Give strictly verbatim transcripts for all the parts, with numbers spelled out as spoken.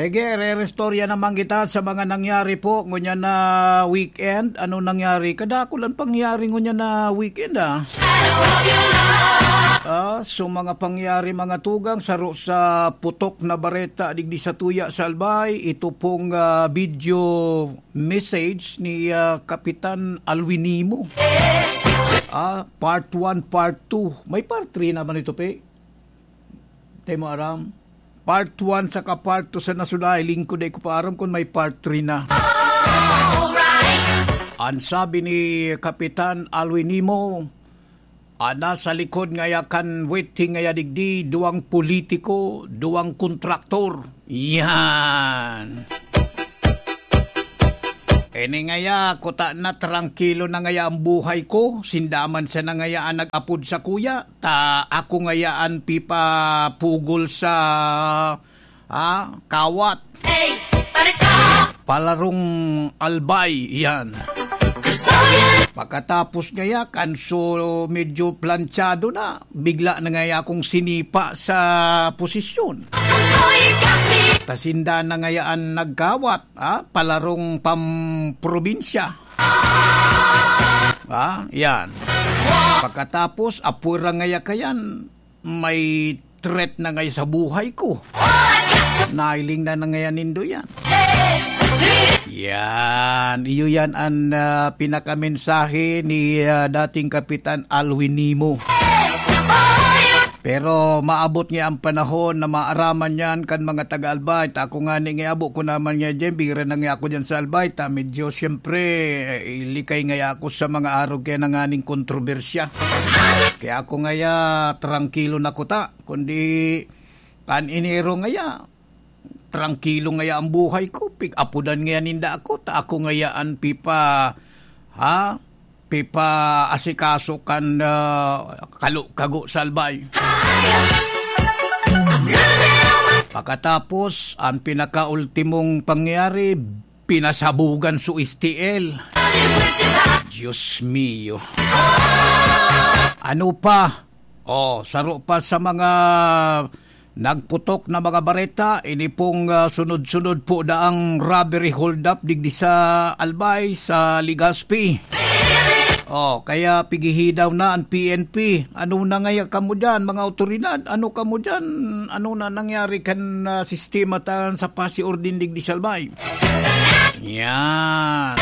Sige, rerestorya naman kita sa mga nangyari po ngunyan na weekend. Ano nangyari? Kadako lang pangyari ngunyan na weekend, ah. Ah, so mga pangyari, mga tugang, saro sa putok na bareta digdi sa tuya sa Albay, ito pong, ah, video message ni, ah, Kapitan Alwin Nimo. Ah, part one, part two. May part three naman ito, pe. Di mo aram. Part one saka part two sa nasunod, lingkod, di ko pa aram kung may part three na. An sabi ni Kapitan Alwin Nimo, "An nasa likod ngaya kan waiting ngaya digdi, duwang politiko, duwang kontraktor." Yan. Ini ngaya, kuta na, trangkilo na ngaya ang buhay ko. Sinda man sana ngaya an nag-apod sakuya, ta ako ngaya an pipapugol sa, ah, kawat. Hey, pareso! Palarong Albay, yan. Gusto yan! Pagkatapos ngaya, kanso medyo plantsado na, bigla na ngaya akong sinipa sa posisyon. Ako, ikaw, ni- Ta sinda na ngaya an nagkawat, ah, palarong pamprobinsya. Ah, yan. Pagkatapos, apura ngaya kayan, may threat na ngaya sa buhay ko. Nailing na na ngaya nindo yan. Yan. Iyo yan an, ah, pinakamensahe ni, ah, dating Kapitan Alwin Nimo. Pero maabot nga ang panahon na maaraman yan kan mga taga-Albay. Ta ako ngani nga abo ko naman nga dyan, bira na nga ako dyan sa Albay. Ta medyo, siyempre, eh, likay nga ako sa mga arog kaya nanganing kontrobersya. Kaya ako ngaya, trangkilo na kuta. Kundi, kan Enero ngaya, trangkilo ngaya ang buhay ko. Pig-apodan ngaya ninda ako. Ta ako ngaya an pipa, ha? Pipa-asikaso kan, ah, kalu-, kago sa Albay. Pakatapos, ang pinakaultimong pangyayari, pinasabugan su S T L. Diyos mio. Ano pa? Oh, saro pa sa mga nagputok na mga bareta, ini pong, ah, sunod-sunod po daang robbery hold-up digdi sa Albay, sa Legazpi. Oh, kaya pigihidaw na ang P N P. Ano na ngaya kamo diyan, mga awtoridad? Ano kamo diyan? Ano na nangyari kan, ah, sistema tan sa pasi-ordin digdi sa Albay? Yan.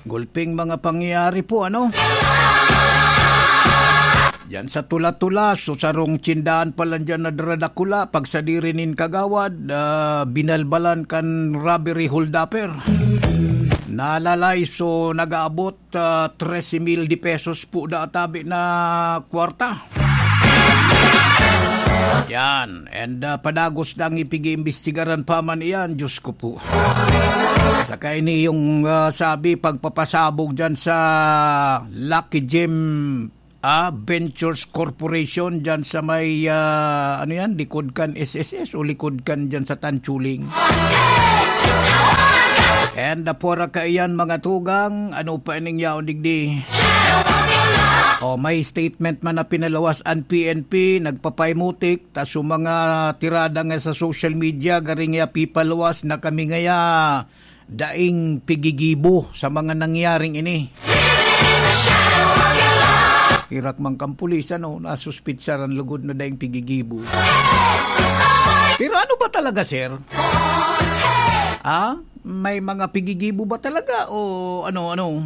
Gulping mga pangyayari po, ano? Diyan sa Tula-Tula, so sarong tsindahan pa lang diyan na daradakula, pagsadiri nin kagawad, ah, binalbalan kan robbery holdaper. Nalalay, so nag-aabot, ah, trese mil de pesos po da tabi na kwarta. Yan. And, ah, padagos na ang ipig-iimbestigaran pa man iyan, Diyos ko po. Saka ini yung, ah, sabi, pagpapasabog dyan sa Lucky Gem, ah, Ventures Corporation dyan sa may, ah, ano yan, likod kan S S S o likod kan dyan sa Tanchuling. And, ah, pora kaiyan, mga tugang, ano pa ining yaon digdi? Oh, may statement man na pinaluwas an P N P, nagpapaimutik, ta su mga tirada nga sa social media, gari nga pipaluwas na kami ngaya daing pigigibo sa mga nangyaring ini. Pirak man kan pulis, ano, nasuspitsaran lugod na daing pigigibo. Pero ano ba talaga, sir? Ah? May mga pigigibo ba talaga o ano, ano?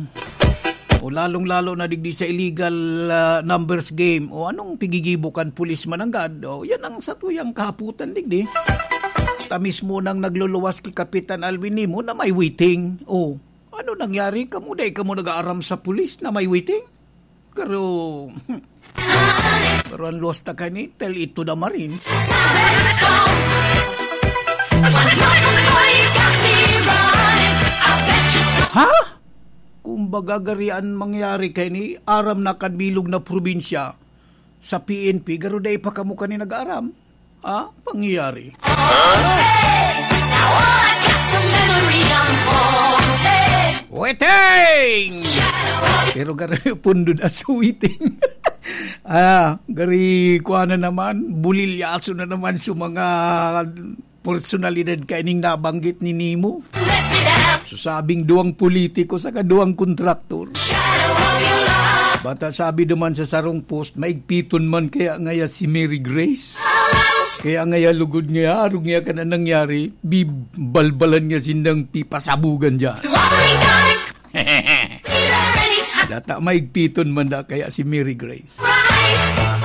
O lalong-lalo na digdi sa illegal, ah, numbers game. O anong pigigibo kan pulis mananggad? O yan ang satuyang kahapotan digdi. Ta mismo nang nagluluwas ki Kapitan Alwin Nimo na may waiting. O ano nangyari? Kamo, dai kamo nag-aaram sa pulis na may waiting? Pero, pero ang luwas ta kani, tell it to the Marines. Ha? Kumbaga, gari an mangyari kani, aram na kan bilog na probinsya sa P N P, garo dai pa kamo kani nag-aaram. Ah, pangyayari. Waiting! Pero garo pundod as waiting. Ah, gari kuha na naman, bulilyaso na naman sa mga personalidad kaining nabanggit ni Nemo. Let me down. So, sabing duwang politiko saka duwang kontraktor. Shadow of your love. Bata sabi duman sa sarong post, maigpiton man kaya ngaya si Mary Grace. Kaya ngaya lugod ngaya, arog ngaya ka na nangyari, bibalbalan nga sindang pipasabugan dyan. You only got it. Data maigpiton man da kaya si Mary Grace. Right.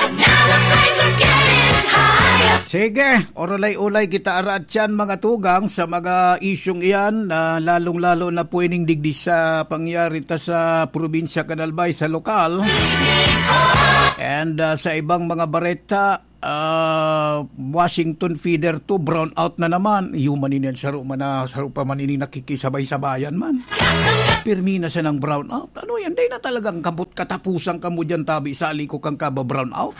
And now the flames are getting higher. Sige, orolay-olay kita araat yan, mga tugang, sa mga isyong iyan, na lalong-lalo na po ining digdi sa pangyari ta sa probinsya kan Albay, sa lokal. And, ah, sa ibang mga bareta, ah, Washington Feather two, brown out na naman. Iyo man ini, saro man na, saro pa man ini nakikisabay-sabayan man. Pirmi na siya ng brown out. Ano yan? Dai na talagang kabot katapusan kamo diyan, tabi sa aliko kang kaba brown out.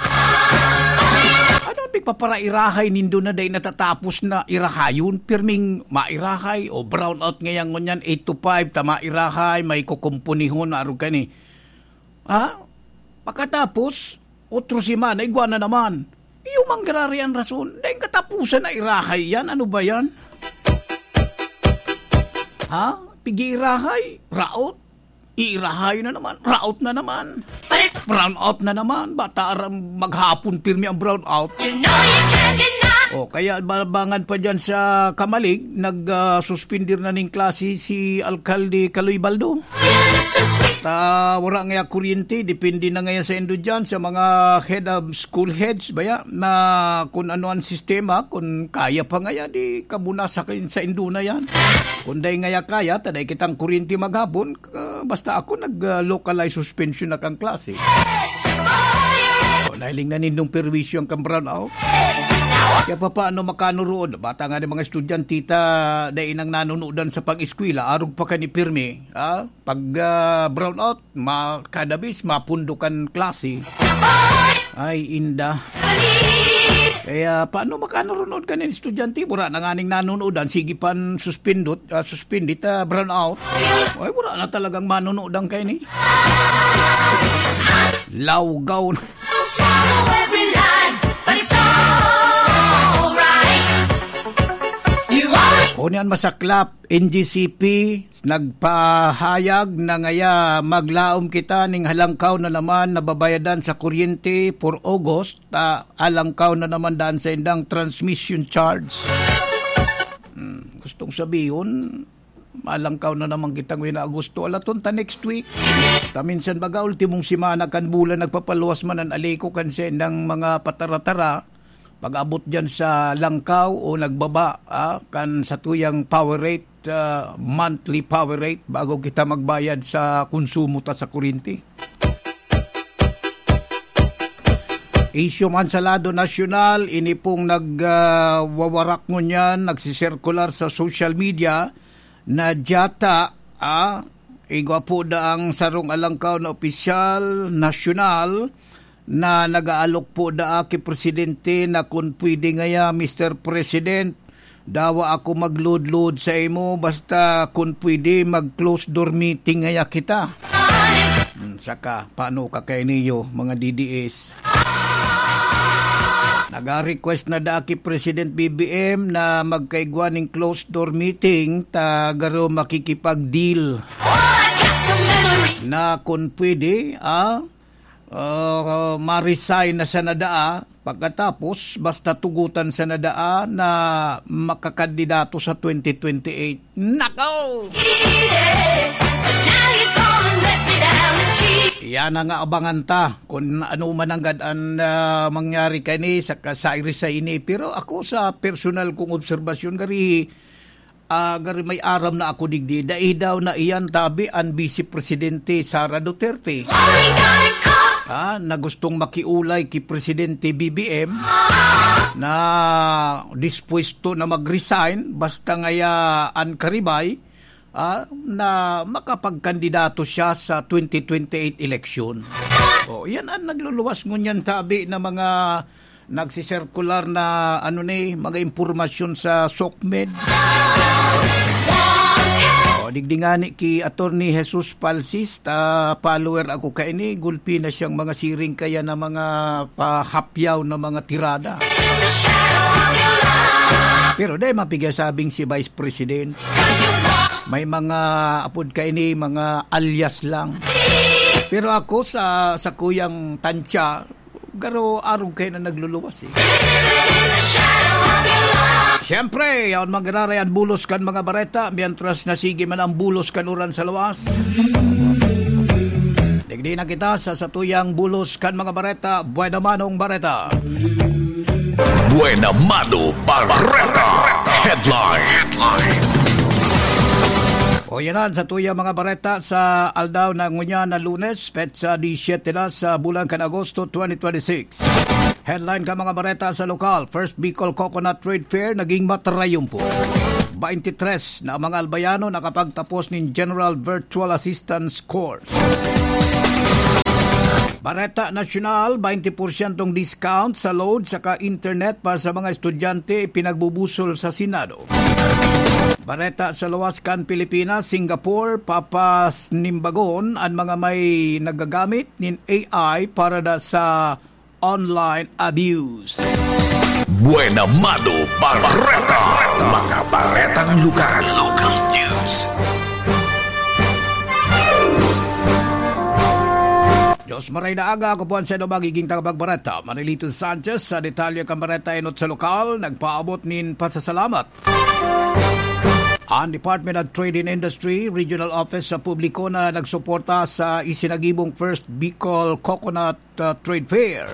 Ano ang pigpaparairahay nindo na dai natatapos na irahayon? Pirming mairahay o brown out ngayon ngunyan, eight to five, ta mairahay, may kukumpunihon, arog ka ni. Ha? Pakatapos, otro semana, igwa na naman. Iyo man giraray an rason. Daing katapusan na irahay yan. Ano ba yan? Ha? Pigi-irahay? Raot? Iirahay na naman. Raot na naman. Brown out na naman. Bata aram maghapon pirmi ang brown out. You know you can't deny. O, kaya babangan pa dyan sa Camalig, nag, ah, suspender na ning klase si Alkalde Kaloy Baldo. Ta, wala ngaya kuryente, depende na ngaya sa indo dyan, sa mga head of school heads, baya, na kung ano ang sistema, kung kaya pa ngaya, di kabuna sa, sa indo na yan. Kung dai ngaya kaya, ta dai kitang kuryente maghapon, ah, basta ako nag, ah, localized suspension na kang klase. O, nahiling na nindong perwisyo ang kang brown out. Kaya pa paano makanurood? Bata nga ni mga estudyante ta, dai nang nanunodan sa pag-eskwela, arog pa ka ni pirmi, ah? Pag, ah, brown out, ma-, kada bis, mapundokan klase. Ay, inda. Kaya, paano makanurood ka nin estudyante? Wala na nga ning nanunodan, sige pan suspendot, ah, suspendit, ah, brown out. Ay, wala na talagang manunodan kayo ni. Lawgaw na. Swallow every line, but it's alright. You always Kung yan masaklap, N G C P, nagpahayag na ngaya maglaom kita ning halangkaw na naman na babayadan sa kuryente for August, ta alangkaw na naman daan sa indang transmission charge. Hmm, gustong sabihon, malangkaw na naman kita ngawin na Agosto. Alaton ta next week. Ta minsan baga, ultimong semana kan bulan, nagpapaluwas man an aliko kan sa indang mga patara-tara. Pag-abot dyan sa langkaw o nagbaba, ah, kan satuyang power rate, ah, monthly power rate, bago kita magbayad sa konsumo ta sa kuryente. Isyu man sa lado nasyonal, ini pong nag, ah, wawarak ngunyan, nagsisirkular sa social media na dyata, ah, igwa po da ang sarong alangkaw na opisyal, nasyonal, na nag-aalok po daa ki Presidente na kun pwede ngaya, Mister President, dawa ako mag-load-load sa imo, basta kun pwede, mag-close door meeting ngaya kita. Hmm, saka, paano ka kay niyo, mga D D S? Naga-request na daa ki President B B M na magkaigwa ning closed door meeting, ta garo makikipag-deal na kun pwede, ah, ah, ma-resign na sana daa. Pagkatapos, basta tugutan sana daa na makakandidato sa twenty twenty-eight. Nako! Yan na nga abangan ta kung ano man nanggad an, ah, mangyari kani sa ka-, sa resign ini. Pero ako, sa personal kong obserbasyon, gari, ah, gari may aram na ako digdi. Dai daw na iyan tabi an Vice Presidente Sara Duterte. Ah, na gustong makiulay ki Presidente B B M na dispuesto na mag-resign basta ngaya an karibay, ah, na makapagkandidato siya sa twenty twenty-eight eleksyon. O, yan ang nagluluwas ngunyan tabi na mga nagsisirkular na, ano ni, mga impormasyon sa SOCMED. O, digdi ngani ki Attorney Jesus Palsis, ta follower ako kaini, gulpi na siyang mga siring kaya na mga pahapyaw na mga tirada. Pero dai mapigasabing si Vice President. May mga apod kaini, mga alias lang. Pero ako sa, sa kuyang tansya, garo arog kayo na nagluluwas eh. Siyempre, yaon magiraray ang bulos kan mga bareta, mientras na sige man ang bulos kan uran sa luwas. Digdi na kita sa satuyang bulos kan mga bareta, Buena Manong Bareta. Buena Mano Bareta. Headline. O yan na, sa tuya mga bareta sa aldaw na ngunyan na Lunes, petsa disisyete na sa bulan kan Agosto twenty twenty-six. Headline ka mga bareta sa lokal, First Bicol Coconut Trade Fair naging matarayumpo. Baintitres na mga Albayano nakapagtapos nin General Virtual Assistance Course. Bareta Nasyonal, baynte porsyentong discount sa load saka internet para sa mga estudyante pinagbubusol sa Senado. Bareta sa luwas kan Pilipinas, Singapore, papasnimbagon an mga may nagagamit nin A I para da sa online abuse. Buena Mano Bareta. Mga baretang lugar. Local news. Diyos maray na aga, ako po ang sendo magiging tagapagbareta, Manilito Sanchez. Sa detalye kan bareta enot sa lokal, nagpaabot nin pasasalamat ang Department of Trade and Industry Regional Office sa publiko na nagsuporta sa isinagibong First Bicol Coconut, uh, Trade Fair.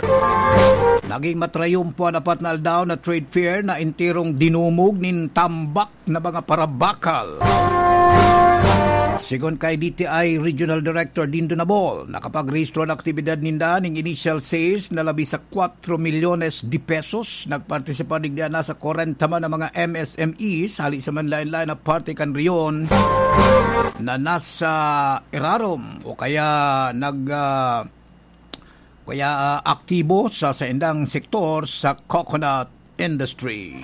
Naging matrayumpo an apat na aldaw na trade fair na enterong dinumog nin tambak na mga parabakal. Sigon kay D T I Regional Director Dindo Nabol, nakapagrehistro an aktibidad ninda ning initial sales na labi sa kwatro milyones de pesos. Nagpartisipa digdi an nasa kwarenta man na mga M S M Es hali sa manlaen-laen na parte kan rehiyon na nasa irarom o kaya nag, ah, kaya, ah, aktibo sa saindang sektor sa coconut industry.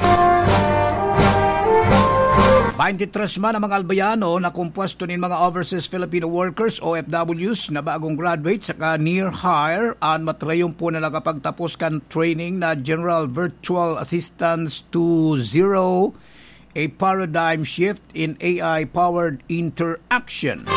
Baynte tres man ang mga Albayano na kompuesto nin mga overseas Filipino workers, O F Ws, na bagong graduate saka near hire an matrayumpo na nakapagtapos kan training na General Virtual Assistance two zero, a paradigm shift in A I-powered interaction.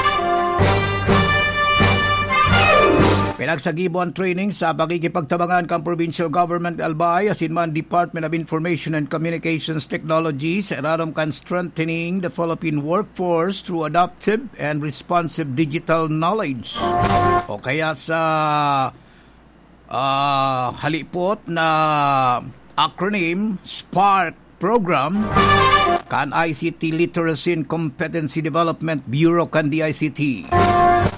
Pinagsagibo an training sa pakikipagtabangan kan Provincial Government Albay asin man Department of Information and Communications Technology sa irarom kan Strengthening the Philippine Workforce through Adaptive and Responsive Digital Knowledge, o kaya sa, ah, halipot na acronym, spark program kan I C T Literacy and Competency Development Bureau kan D I C T.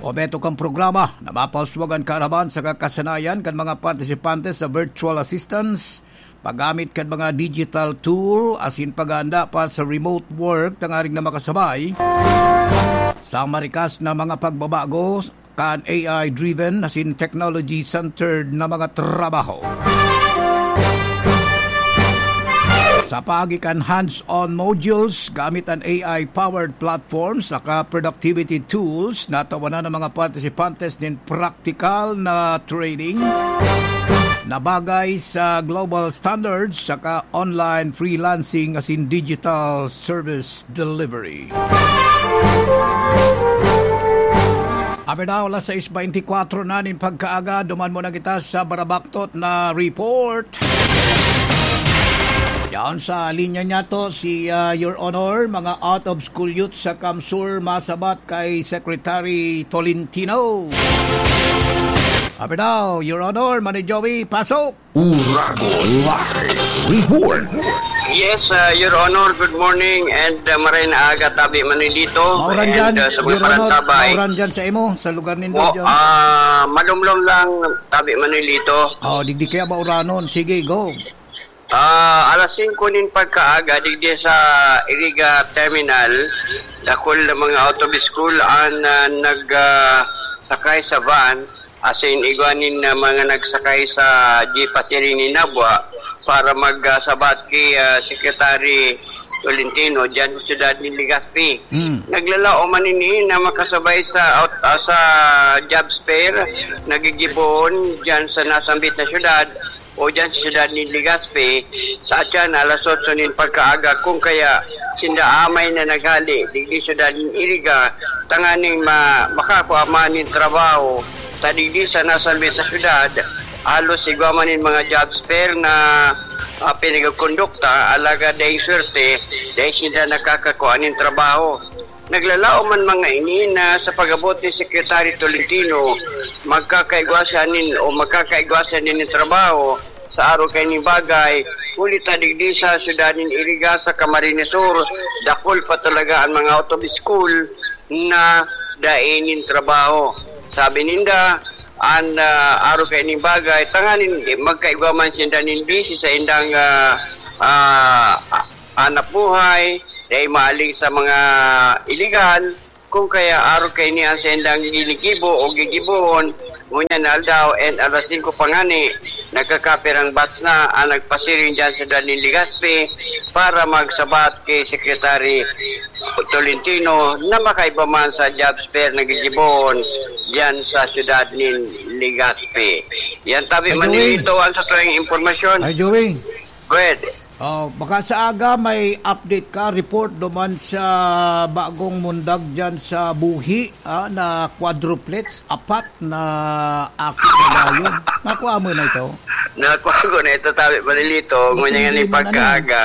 Obheto kan programa na mapauswag an kaaraman saka kasanayan kan mga partisipante sa virtual assistance, paggamit kan mga digital tool, asin paghahanda para sa remote work tanganing na makasabay sa marikas na mga pagbabago kan A I-driven asin technology-centered na mga trabaho. Sa paagi kan hands-on modules, gamit an A I-powered platforms saka productivity tools, natawanan ang mga partisipantes nin praktikal na training na bagay sa global standards saka online freelancing asin digital service delivery. Abi na, alas sais baynte kwatro na nin pagkaaga, duman muna kita sa barabaktot na report. Yan sa linya niya to, si, ah, Your Honor, mga out of school youth sa CamSur masabat kay Secretary Tolentino. Abi na, Your Honor, Manny Joey, pasok! Urago Live Report. Yes, uh, Your Honor, good morning and, uh, maray na aga, Tabi Manilito. Mauran and, dyan, uh, sa mga Your Honor, parantabay. Mauran dyan sa imo, sa lugar nindo Mo, dyan. Ah, malumlom lang, Tabi Manilito. Oh, digdi kaya mauranon. Sige, go. Ah, alas singko nin pagkaaga, digdi sa Iriga Terminal, dakul na mga out of school an, ah, nag, ah, sakay sa van. Asin igwa nin, ah, mga nagsakay sa jeep pasiring nin Nabua para mag, ah, sabat ki, ah, Secretary Tolentino diyan sa siyudad nin Legazpi. Mm. Naglalaom man ini na makasabay sa out-, ah, sa jobs fair na gigibohon diyan sa nasambit na siyudad. o dyan sa siyudad nin Legazpi, sa atyan alas otso nin pagkaaga, kung kaya sinda amay na naghali digdi siyudad nin Iriga, tanganing ma-, makakua man nin trabaho. Ta digdi sa nasambit na siyudad, halos igwa man nin mga job fair na, ah, pinagkondukta, alagad daing swerte, dai sinda nakakakua nin trabaho. Naglalaom man mga ini na sa pag-abot ni Secretary Tolentino, magkakaigwa siya nin, o magkakaigwa siya nin trabaho sa araw kaini bagay, huli ta digdi sa siyudad nin Iriga sa Camarines Sur, dakul pa talaga an mga out of school na dai nin trabaho. Sabi ninda, an, ah, araw kaini bagay, tanganing magkaigwa man sinda nin busy sa indang, ah, ah, hanap buhay, dai maaling sa mga iligal, kung kaya araw kaini an saindang ginigibo o gigibohon, ngunyan na aldaw and alas singko pa ngani, nagkakapirang bats na ang nagpasiring dyan sa siyudad nin Legazpi para magsabat kay Secretary Tolentino na makaiba man sa job fair na gigibohon dyan sa siyudad nin Legazpi. Yan tabi, Ay, Joey. Manilito, ang sa tuwing impormasyon. Ay, Joey. Go ahead. Oh, baka sa aga may update ka, report duman sa bagong mundag dyan sa Buhi, ah, na quadruplets, apat na aki na dayon. Nakuha mo na ito? Nakuha ko na ito, tabi, Manilito. Ngunyan nga Matindi ni man, ano? pagkaaga.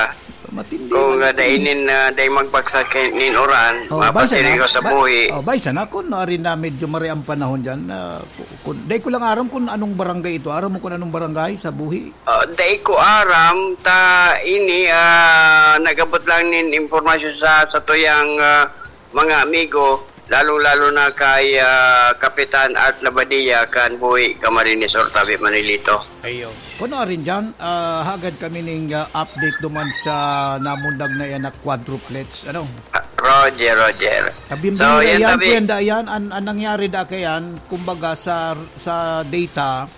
Matindi Kung man ah, ito. dainin na, dai magbagsak kay nin uran, Oh, bay mapasiring sana. ko sa Ba-, Buhi. oh, bay sana kung naarin na medyo mari ang panahon dyan. Ah, ku-, kun-, dai ko lang aram kung anong barangay ito. Aram mo kung anong barangay sa Buhi? Ah, dai ko aram, ta ini, ah, nag-abot lang nin impormasyon sa, sa tuyang, ah, mga amigo, lalong-lalo na kay, ah, Kapitan Art Labadia kan Buhi, Camarines Sur, tabi, Manilito. Ayo. Kuno arin dyan, ah, hagad kami ning, ah, update duman sa namundag na yan na quadruplets, ano? Ah, Roger, Roger. Tabi, So, yan, yan, tabi. Kuya, yan, an, an nangyari da kayan, kumbaga sa, sa data,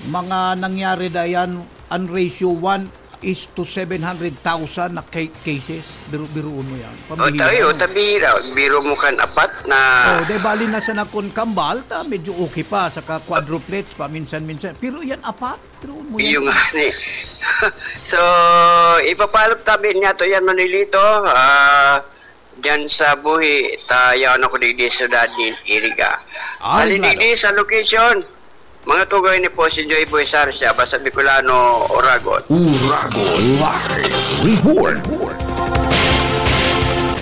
mga nangyari da yan, an ratio one is to seven hundred thousand na ca-, cases. Biro-, biruon mo yan. O, Pambihira, tayo, no? tabira. Biro mo kan apat na Oh, dahil bali na sana kun kambal, ta medyo okay pa, saka quadruplets pa, minsan-minsan. Pero yan, apat, biruon mo yan. Iyo nga ni. So, ipapalap tabi niya to yan, Manilito. Ah, dyan sa Buhi, ta yaon ako digdi sa siyudad nin Iriga. Ay, Bali, klaro. digdi sa location, mga tugay ni po si Joy Boy Sarsia, basta Bicolano, Oragon. Oragon Live Report.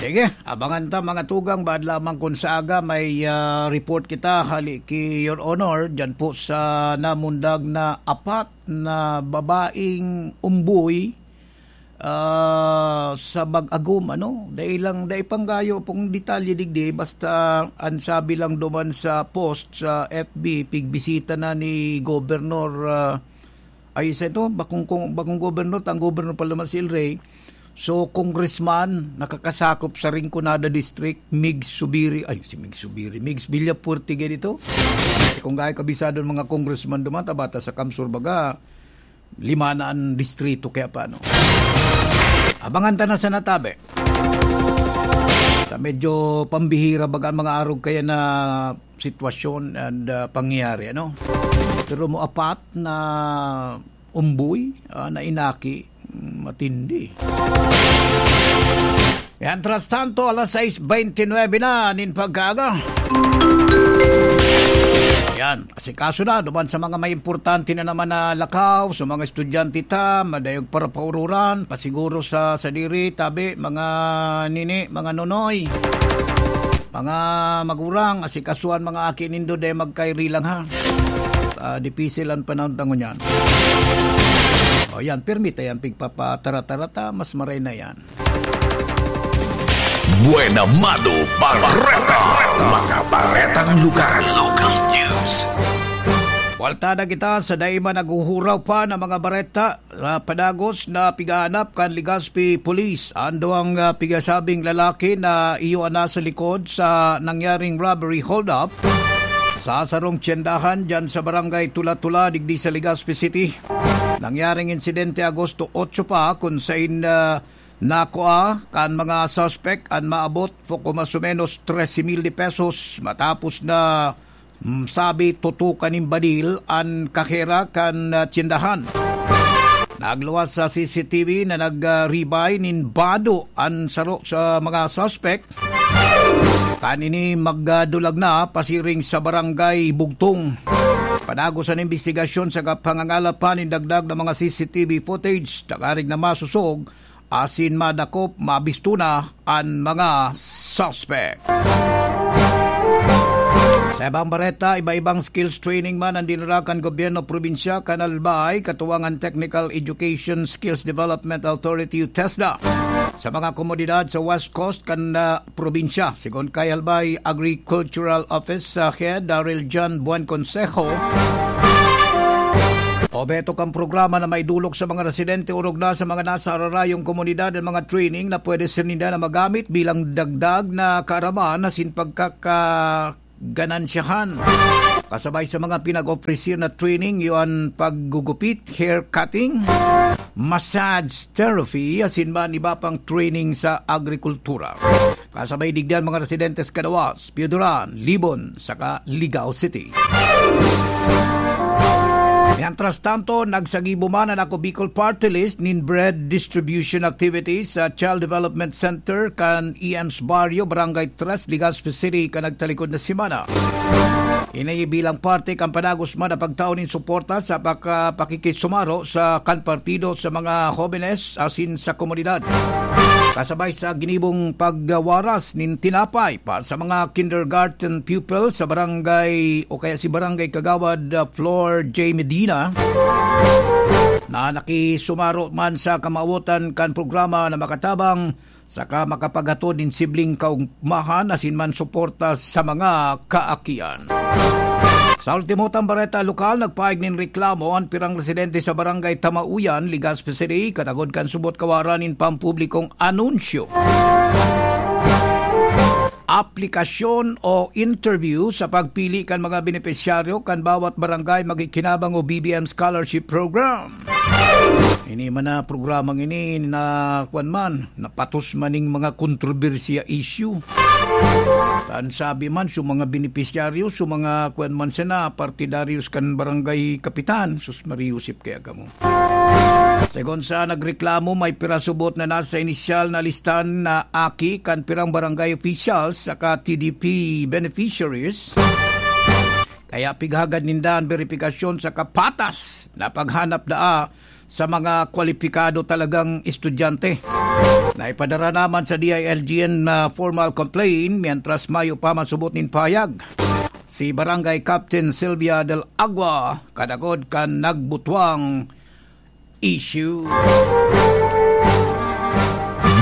Sige, abangan ta, mga tugang, baad lamang kun sa aga may, ah, report kita, hali ki Your Honor, dyan po sa namundag na apat na babaeng umboy, ah, sa Mag-agom, ano? Dai lang, dai panggayo pong detalye digdi, basta an sabi lang duman sa post sa F B, pigbisita na ni Governor, ah, ay, isa ito, bakong, kong, bakong governor, tang governor pa naman si El Rey. So, congressman, nakakasakop sa Rinconada District, Migs Subiri, ay, si Migs Subiri, Migs Villafuerte, ganito. Eh, kung gaya kabisado ng mga congressman duman, tabata sa Kamsur, baga, lima na ang distrito, kaya paano? Abangan ta na sa natabi. Ta medyo pambihira baga ang mga arog kaya na sitwasyon and, ah, pangyayari, ano? Pero mo apat na umboy, ah, na inaki, mm, matindi. Mientras tanto, alas sais beintinuebe na nin pagkaaga. Yan, asikaso na duman sa mga may importante na naman na lakaw, sa mga estudyante ta, madayog para paururan, pasiguro sa sadiri, tabi, mga nini, mga nonoy, mga magurang, asikasuan mga aki nindo, dai magkairi lang, ha. Ah, dipisil ang panahon ta ngunyan. O yan, permita yan, pigpapatara-tara ta, mas maray na yan. Buena Mano Bareta. Mga baretang lugar. Local news. Buwalta na kita sa dai man naghuhuraw pa na mga bareta. Ah, padagos na pigahanap kan Legazpi Police an duwang, ah, pigasabing lalaki na iyo an nasa likod sa nangyaring robbery holdup sa sarong tyendahan dyan sa Barangay Tula-Tula, digdi sa Legazpi City. Nangyaring insidente Agosto otso pa, kun sain, ah, nakua kan mga suspek an maabot po ko mas o menos trese mil de pesos matapos na, mm, sabi, tutukan nin badil an kahera kan, ah, tyendahan. Nagluwas sa C C T V na nag-, ah, ribay nin bado an saro sa mga suspek. Kan ini magdulag na pasiring sa Barangay Bugtong. Padagos an imbestigasyon sa kapangangalapan nin dagdag na mga C C T V footage, tangarig na masosog asin madakop, mabisto na an mga suspek. Sa ibang bareta, iba-ibang skills training man ang dinara kan gobyerno probinsya kan Albay, katuwang an Technical Education Skills Development Authority o TESDA, sa mga komunidad sa West Coast kan, ah, probinsya. Sigon kay Albay Agricultural Office, ah, Head Daryl John Buen Consejo, obheto kan programa na maidolok sa mga residente orog na sa mga nasa ararayong komunidad ang mga training na pwede sinda na magamit bilang dagdag na kaaraman asin pagkakaganansyahan. Kasabay sa mga pinag-ofrecer na training, iyo an paggugupit, hair cutting, massage therapy, asin man iba pang training sa agrikultura. Kasabay digdi an mga residentes Cadaoas, Pioduran, Libon, saka Ligao City. Mientras tanto, nagsagibo man an Ako Bicol Party List nin bread distribution activities sa Child Development Center kan E M's Barrio, Barangay Tres, Legazpi City, kan nagtalikod na semana. Ini bilang parte kan padagos man na pagtao nin suporta sa pagka-, pakikisumaro sa kan partido sa mga hobenes asin sa komunidad. Kasabay sa ginibong pagwaras nin tinapay para sa mga kindergarten pupil sa barangay o kaya si Barangay Kagawad, uh, Flor J Medina, na nakisumaro man sa kamawotan kan programa na makatabang saka makapaghatod nin sibling kaugmahan asin man suporta sa mga kaakian. Sa ultimotang bareta lokal, nagpaig nin reklamo an pirang residente sa Barangay Tamauyan, Legazpi City, katagod kan subot kawaran nin pampublikong anunsyo, aplikasyon o interview sa pagpili kan mga benepisyaryo kan bawat barangay magikinabang o B B M Scholarship Program. Ini man na programang ini na, kwan man, napatos man ning mga kontrobersiya issue. Tan sabi man, so mga benepisyaryo, so mga, kwan man sana, partidaryos kan barangay kapitan, sus, Maria Josep, kaya kamo. Segun sa nagreklamo, may pirasubot na nasa inisyal na listan na aki kan pirang barangay officials saka T D P beneficiaries. Kaya pighagad ninda an beripikasyon sa kapatas na paghanap daa sa mga kwalipikado talagang estudyante. Naipadara naman sa D I L G N na formal complaint, mientras mayo pa masubot nin pahayag si Barangay Captain Sylvia del Agua, kadagod kan nagbutwang issue.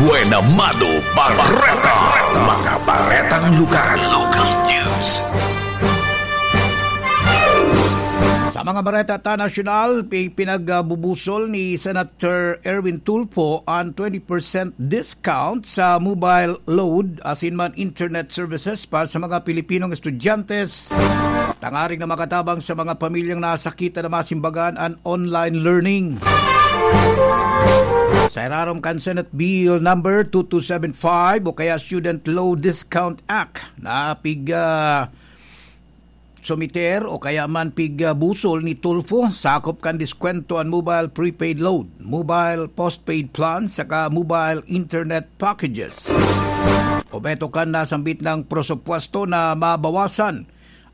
Buena Mano Bareta. Mga baretang lugar. Local news. Sa mga bareta ta nasyonal, pi-, pinagbubusol ni Senator Erwin Tulfo an twenty percent discount sa mobile load asin man internet services para sa mga Pilipinong estudyante tangarig na makatabang sa mga pamilyang nasakitan na masimbagan an online learning. Sa irarom kan Senate Bill Number two two seven five o kaya Student Loan Discount Act na pig, ah, sumiter o kaya man pig, ah, busol ni Tulfo, sakop kan diskwento an mobile prepaid load, mobile postpaid plan, saka mobile internet packages. Obheto kan nasambit na presupuesto na mabawasan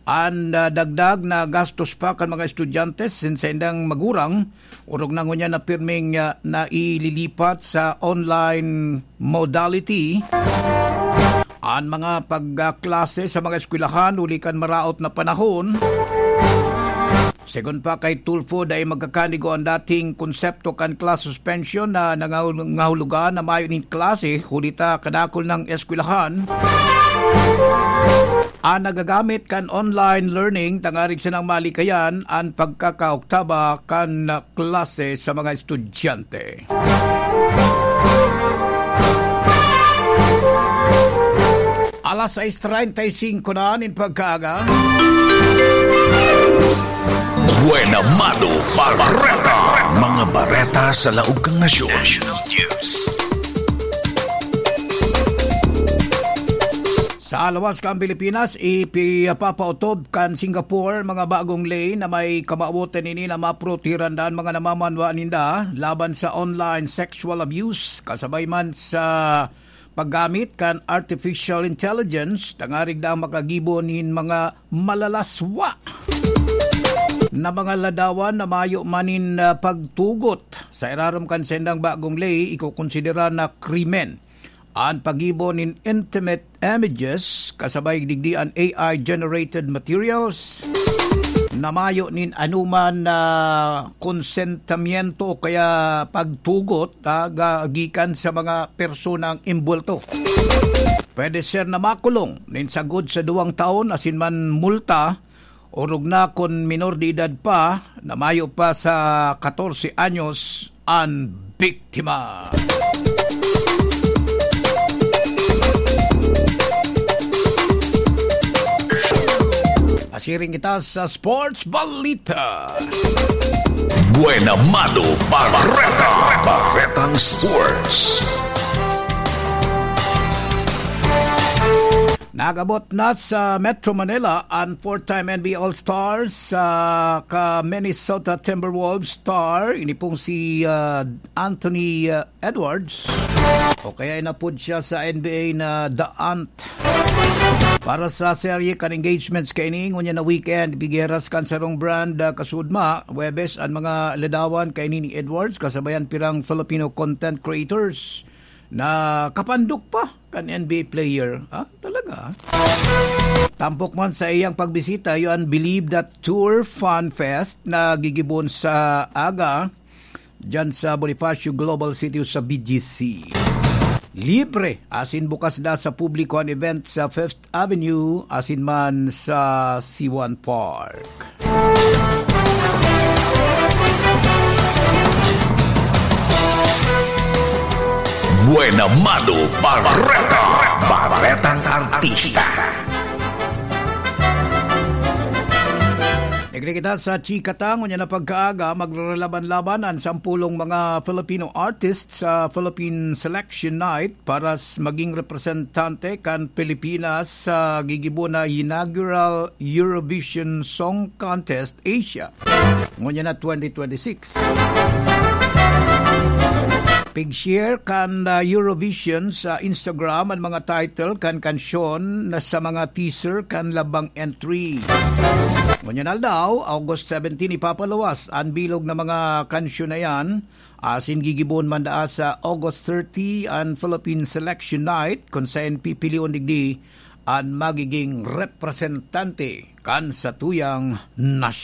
an, ah, dagdag na gastos pa kan mga estudyante asin saindang magurang, orog na ngunyan na pirming, ah, naililipat sa online modality an mga pagkaklase sa mga eskwelahan huli kan maraot na panahon. Segun pa kay Tulfo, dai magkakanigo an dating konsepto kan class suspension na nangahul-, nangahulugan na mayo nin klase huli ta kadakul na eskwelahan an nagagamit kan online learning tangarig sanang malikayan an pagkakaoktaba kan klase sa mga estudyante. Alas sais treinta y cinco na nin pagkaaga. Buena Mano Bareta. Mga bareta sa laog kan nasyon. National News. Sa lawas kan Pilipinas, ipipapaotob kan Singapore mga bagong ley na may kamawotan nini na maprotehiran an mga namamanwa ninda laban sa online sexual abuse, kasabay man sa paggamit kan artificial intelligence, tangarig daang makagibo nin mga malalaswa na mga ladawan na mayo man nin, ah, pagtugot. Sa irarom kan sendang bagong ley, ikokonsidera na krimen an paggibo nin intimate images kasabay digdi an A I-generated materials na mayo nin anuman na konsentimiento o kaya pagtugot, ah, ga-, gikan sa mga personang imbulto. Pwede siya na makulong nin sagkod sa duwang taon asin man multa, orog na kun minor de edad pa na mayo pa sa katorse anyos an biktima. Pasiring kita sa sports balita. Buena Mano Bareta. Baretang Sports. Nag-abot na sa Metro Manila an four-time N B A All-Stars, ah, ka Minnesota Timberwolves star, ini pong si, ah, Anthony, ah, Edwards, o kaya inapod siya sa N B A na The Ant. Para sa serye kan engagements kaini, ngunyan na weekend, gigiras kan sarong brand, ah, kasudma, Huwebes, an mga ladawan kaini ni Edwards, kasabayan pirang Filipino content creators na kapandok pa kan N B A player. Ah, talaga, ah. Tampok man sa iyang pagbisita, iyo an Believe That Tour Fun Fest na gigibon sa aga diyan sa Bonifacio Global City sa B G C. Libre asin bukas na sa publiko an event sa Fifth Avenue asin man sa Siwan Park. Buena Mano Bareta. Baretang Artista. Nagre kita sa chika ta, ngunyan na pagkaaga, maglalaban-laban an sampulong mga Filipino artists sa Philippine Selection Night para s-, maging representante kan Pilipinas sa gigibo na inaugural Eurovision Song Contest Asia, ngunyan na twenty twenty-six. Pig-share kan, ah, Eurovision sa Instagram an mga title kan kansyon na sa mga teaser kan labang entry. Ngunyan aldaw, August seventeen, ipapaluwas an bilog na mga kansyon na yan. Asin gigibon man daa sa August thirty an Philippine Selection Night, kun saen pipilion digdi an magiging representante kan satuyang nasyon.